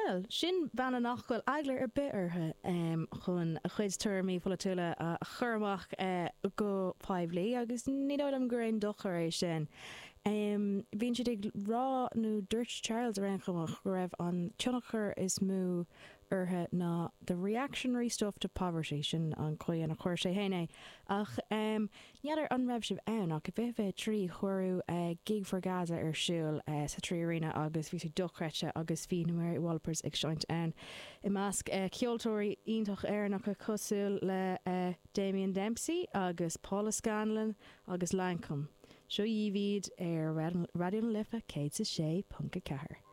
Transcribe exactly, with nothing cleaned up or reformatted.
Bhuel, sin bean nach bhfuil eagla ar bith uirthi um, chun a chuid tuairimí polaitiúla a chur amach uh, go poiblí agus ní dóigh liom gur aon dochar é sin. Um, Bhíonn siad ag rá nó dúirt Charles ar aon chuma go raibh an tionchar is mó uirthi ná the reactionary stuff to poverty sin an chaoi a chuir sé féin é ach um, N'fheadar an raibh sibh ann ach bhí bhí trí chuú uh, gig for Gaza ar siúl uh, sa Three Arena agus bhí sé dochreidte agus bhí na Mary Wallopers ag seinnt ann. I measc uh, ceoltóirí iontach Éireannacha cosúil le uh, Damien Dempsey agus Paula Scanlon agus Lankum. Seo iad ar Raidió na Life céad a sé ponc a ceathair.